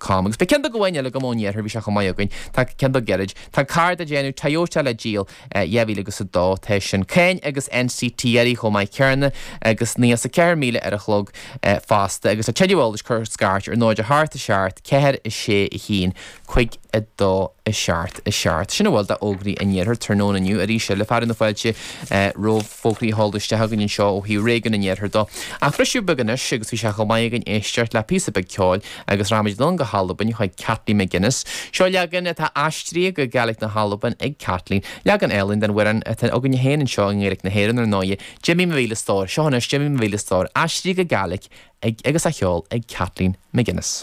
Com. Agus beidh ceann beag amháin eile agam ón iarthar, bhí sé chomh maith againn, tá ceann beag gairid. Tá carr le déanamh, Toyota le díol, 2000 agus 2, tá sin. Cáin agus NCT uirthi chomh maith céanna agus 94,000 ar an chlog fosta. Agus tá tuilleadh eolais cuir scairt ar 0 8 7 4 6 1 5 2 7 7. Sin a bhfuil d'fhógraí an iarthair tráthnóna inniu. Arís eile, fearadh na fáilte roimh fógraí a sheoladh isteach againn anseo ó thaobh réigiún an iarthair dó. Ach briseadh beag anois agus bhí sé chomh maith againn éisteacht le píosa beag ceoil agus rachaimid anonn go hAlbain chuig Kathleen MacInnes. Seo leagan atá aistrithe go Gaelic na hAlban ag Kathleen. Leagan álainn den amhrán atá againne féin anseo i nGaeilge na hÉireann ar ndóighe, Jimmy mo mhíle stór. Seo anois Jimmy mo mhíle stór, aistrithe go Gaelic ag agus á cheol ag Kathleen MacInnes.